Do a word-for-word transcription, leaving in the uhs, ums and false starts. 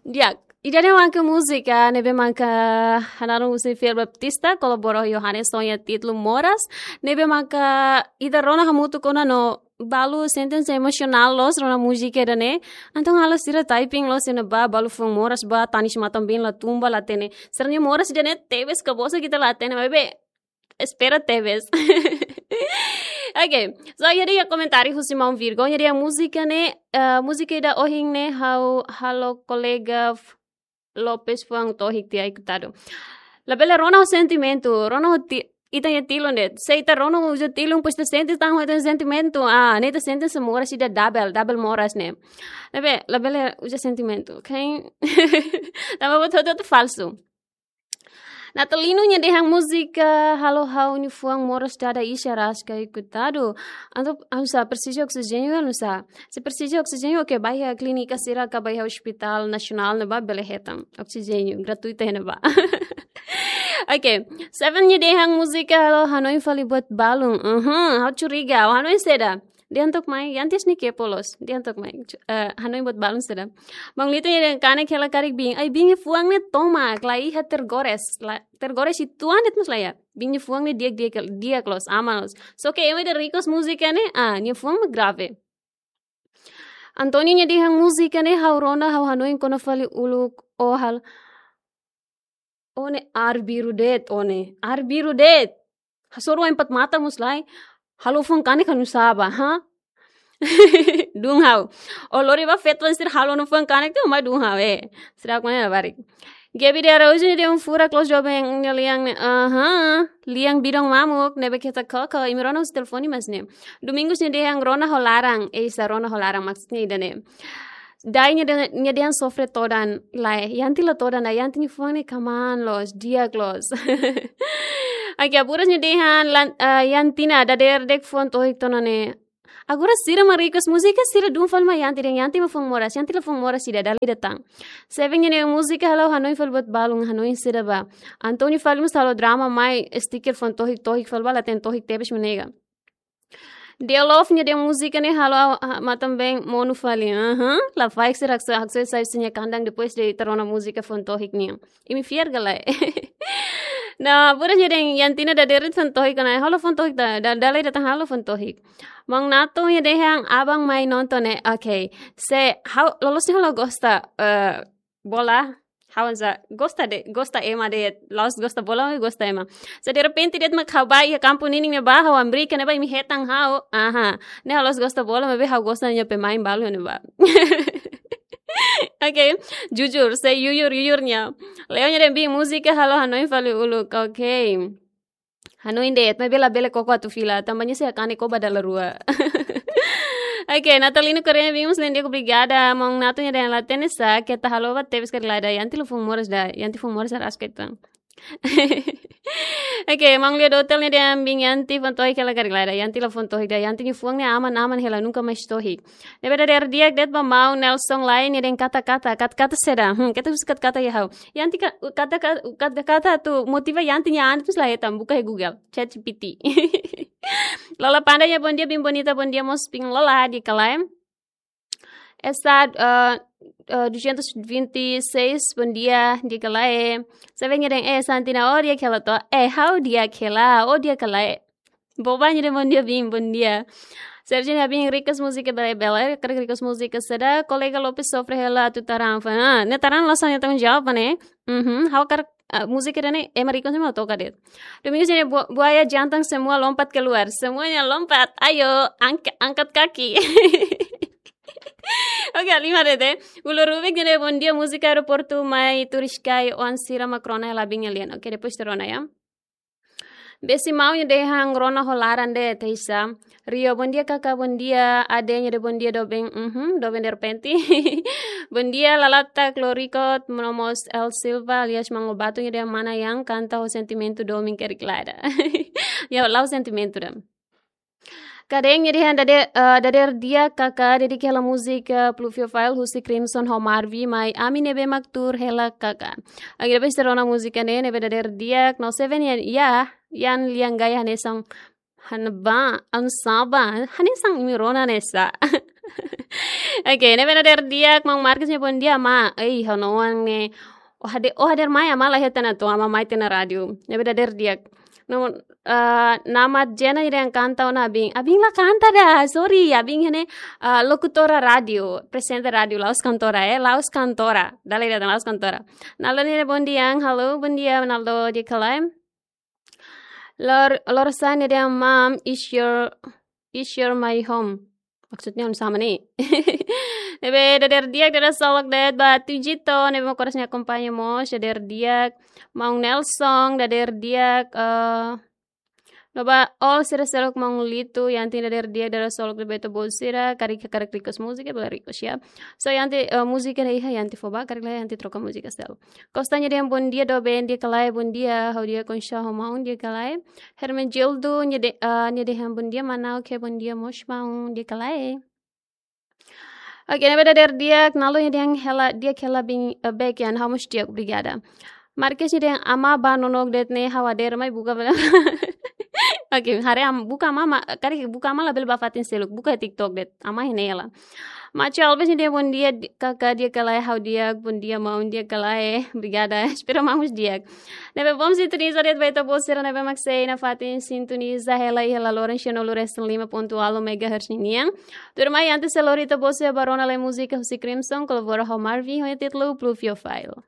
Di'ak, ida-ne'e maka múzika ne'ebé maka hananu husi Fiel Baptista, kolabora ho Johannes, ho nia títulu Moras, ne'ebé maka ita rona hamutuk ona no balu sente emosionál loos rona múzika ida-ne'e. Entaun halo sira typing loos iha ne'ebá, balu fuan moras ba, tanis matan-been la tun ba, la hatene. Sira-nia moras ida-ne'e tebes ka bosan ita la hatene, maibé espera tebes. Ok, so iha de'it komentáriu husi maun Virgo, iha de'it múzika ne'e, eh, múzika ida ohin ne'e ha'u halo kolega F-, Lopes fuan tohik tiha, koitadu. Labele rona ho sentimentu, rona ho ti-, ita-nia tilun de'it. Se ita rona ho uza tilun, depois ita sente tan ho ita-nia sentimentu. Ah, ne'e ita sente hanesan moras ida double, double moras ne'e. Ne'ebé, labele uza sentimentu, ok? Tanba buat hotu-hotu falsu. Natalino nia dehan múzika halo ha'u-nia fuan moras dada, ixa raskai, koitadu. Entaun, ha'u sá, presiza oksijéniu, ha'u sá. Se presiza oksijéniu, ok, bá iha klínika sira ka bá iha Hospital Nasionál ne'ebá bele hetan oksijéniu gratuitu iha ne'ebá. Ok, Seven nia dehan múzika halo hanoin fali buat balun. Uhum, ha'u curiga, ha'u hanoin saida. Dehan took mai, Yanti, nia kepo loos. Dehan took mai, cu-, eh, hanoin buat balun saida. Maun Lito nia dehan kanek hela karik biin. Ai, biin nia fuan ne'e tomak, la iha, tergores. La, tergores uitoan de'it mós la iha. Biin nia fuan ne'e di'ak, di'ak, di'ak loos, aman loos. Só ke ema ida request múzika ne'e, ah, nia fuan mak grave. Antonio nia dehan múzika ne'e ha'u rona, ha'u hanoin kona fali uluk, oh hal. Ó-nia aat biru de'it, ó-nia aat biru de'it. Hasoru empat mata mós lae. Halo fuan kanek ka nusá bá, ha? Dún ha'u. Ó lori bá feto sira halo no fuan kanek tiha, mai dún ha'u, eh. Sira kone na barik. Gaby de Araújo nia dehan furak loos joven nia lian ne'e, aha. Lian bidon mamuk, ne'ebé keta koko, imi rona husi telefone mas ne'e. Domingos nia dehan rona ho laran, eh, sá rona ho laran maksudnya ida-ne'e. Dai nia dehan, nia dehan sofre todan, lae, Yanti la todan, Yanti nia fuan ne'e kamaan loos, di'ak loos. Aki Aburas nia dehan, lan-, eh, Yantina, dadeer de'it fuan tohik tiha ona ne'e. Agora sira mak request múzika, sira dún fali mai Yanti dehan, Yanti mak fuan moras, Yanti la fuan moras ida, dala ida tan. Seven nia dehan múzika halo hanoin fali buat balun, hanoin saida bá. Antonio fali mós halo drama mai, sticker fuan tohik, tohik fali bá, la hatene tohik tebes mak nega. Dia Love nia dehan múzika ne'e halo, ah, matan-been monu fali. Aha, lafaek sira haksoit, haksoit sai husi nia kandang depois de ita rona múzika fuan tohik nian. Imi fiar ka lae? Nah, Aburas nia dehan Yantina dadeer de'it fuan tohik ona, halo fuan tohik ta, da-, dala ida tan halo fuan tohik. Maun Nato nia dehan aban mai nonton ne'e, ok. Se ha'u loloos ne'e ha'u la gosta, eh, bola, ha'u sá gosta de'it, gosta ema de'it, la'ós gosta bola, gosta ema. Se derrepente de'it mak ha'u bá iha kampu ninin ne'ebá, ha'u hamriik iha ne'ebá imi hetan ha'u, aha. Ne'e ha'u la'ós gosta bola, maibé ha'u gosta nia pemain balu ne'ebá. Ok, jujur, se jujur, jujur nia. Leo nia dehan biin múzika halo hanoin fali uluk, ok. Hanoin de'it, maibé labele koko atu fila, tanba nia sei kanek koba dala rua. Ok, Natalino Correia, biin mós ne'e di'ak, obrigada. Maun Nato nia dehan la hatene sá, keta halo bá tebes karik lae, Yanti la fuan moras ida, Yanti fuan moras raskai tan. Ok, maun Leo Dotel nia dehan biin Yanti fuan tohik hela karik lae, Yanti la fuan tohik ida, Yanti nia fuan ne'e aman, aman hela, nunka mais tohik. Ne'ebé dadeer di'ak de'it ba maun Nelson Lai nia dehan kata-kata, kata-kata saida. Hmm, keta husi kata-kata iha ha'u. Yanti ka-, kata-ka-, kata-kata atu motiva Yanti nia an, depois la hetan, buka iha Google, ChatGPT. Lola Panda nia bondia, biin bonita, bondia mós biin Lola, di'ak ka lae? Essa, ah, ah, duzentos e vinte e seis, bondia, di'ak ka lae? Seven nia dehan, eh, Santina, ó di'ak hela to'o, eh, ha'u di'ak hela, ó di'ak ka lae? Boba nia dehan bondia, biin, bondia. Sergio nia dehan biin request múzika bele-bele, karik request múzika saida, kolega Lopes sofre hela atu taran fuan. Ah, ne'e taran la'ós ha'u-nia tanggung jawab ne'e. Mhm, ha'u karik, ah, múzika ida-ne'e, ema request ema toka de'it. Domingos nia dehan bu-, buaya jantan semua lompat keluar. Semuanya lompat, ayo, angk-, angkat kaki. Ok, lima de'it. Ulo Rubik nia dehan bondia, múzika aeroportu mai turis kai oan sira mak rona hela biin nia lian. Ok, depois ita rona ya. Besi Mau nia dehan rona ho laran de'it, Teisa. Rio, bondia kaka, bondia. Ade nia dehan bondia doben, mhm, doben derrepente. Bondia Lalata Cloricot, no mós El Silva alias Mango Batu nia dehan mana yang kanta ho sentimentu domin kerik lae. Ya, la'o sentimentu ida. Kadeng nia dehan dade-, eh, dadeer di'ak kaka, dedika hela múzika, eh, Pluviophile husi Crimson ho Marvi, mai ami ne'ebé mak tuur hela kaka. Agora depois ita rona múzika ne'e, ne'ebé dadeer di'ak, no Seven ya, ya, Yan Lian Gaya hanesan, hanesan ba, hanesan ba, hanesan imi rona hanesan. Oke, ne'ebé dadeer di'ak, maun Marcos nia bondia, amá. Ei, ha'u-nia oan ne'e. Oh, hadeer, oh, hadeer mai, amá la iha tiha ona, to'o amá mai tiha ona rádiu. Ne'ebé dadeer di'ak. No, ah, Namat Jena nia dehan kanta ona Abin. Abin la kanta ida, sorry. Abin ne'e, ah, lokutora rádiu, aprezenta rádiu, la'ós kantora, eh, la'ós kantora. Dala ida la'ós kantora. Nalo nia bondia, halo, bondia, Nalo, di'ak ka lae. Lor, Lorsa nia dehan, Mom, is your, is your my home. Maksudnya oinsá mak ne'e? Ne'ebé dadeer di'ak, dadeer solok de'it ba Tujito, ne'ebé mak oras ne'e akompaña mós, dadeer di'ak. Maun Nelson, dadeer di'ak, eh, no ba all sira seluk, maun Litu, Yanti, dadeer di'ak, dadeer solok de'it ba ita-boot sira, karik, karik request múzika, bele request ya. So, Yanti, eh, múzika ne'e iha, Yanti fó ba, karik la iha, Yanti troka múzika seluk. Costa nia dehan bondia doben, di'ak ka lae, bondia, ha'u di'ak, oinsá ho maun, di'ak ka lae. Hermenegildo nia de-, ah, nia dehan bondia mana, oke, bondia mós maun, di'ak ka lae. Oke, ne'ebé dadeer di'ak, Nalo nia dehan hela, di'ak hela Abin, eh, Bekian, ha'u mós di'ak, obrigada. Marques nia dehan amá ba nonook de'it ne'e, ha'u hadeer mai buka bela. Oke, haree am-, buka amá, ma-, karik buka amá labele ba fatin seluk, buka TikTok de'it, amá iha ne'e hela. Macho Alves nia dehan bondia, di-, kaka, di'ak ka lae, ha'u di'ak, bondia maun, di'ak ka lae, obrigada, espera maun mós di'ak. Ne'ebé bom sintoniza de'it ba ita-boot sira ne'ebé mak sei nafatin sintoniza hela iha La Loren cento lima ponto uno megahertz ninian. Tuirmai antes sei lori ita-boot sira ba rona lai múzika husi Crimson, kolabora ho Marvin, ho títulu Blue Fio File.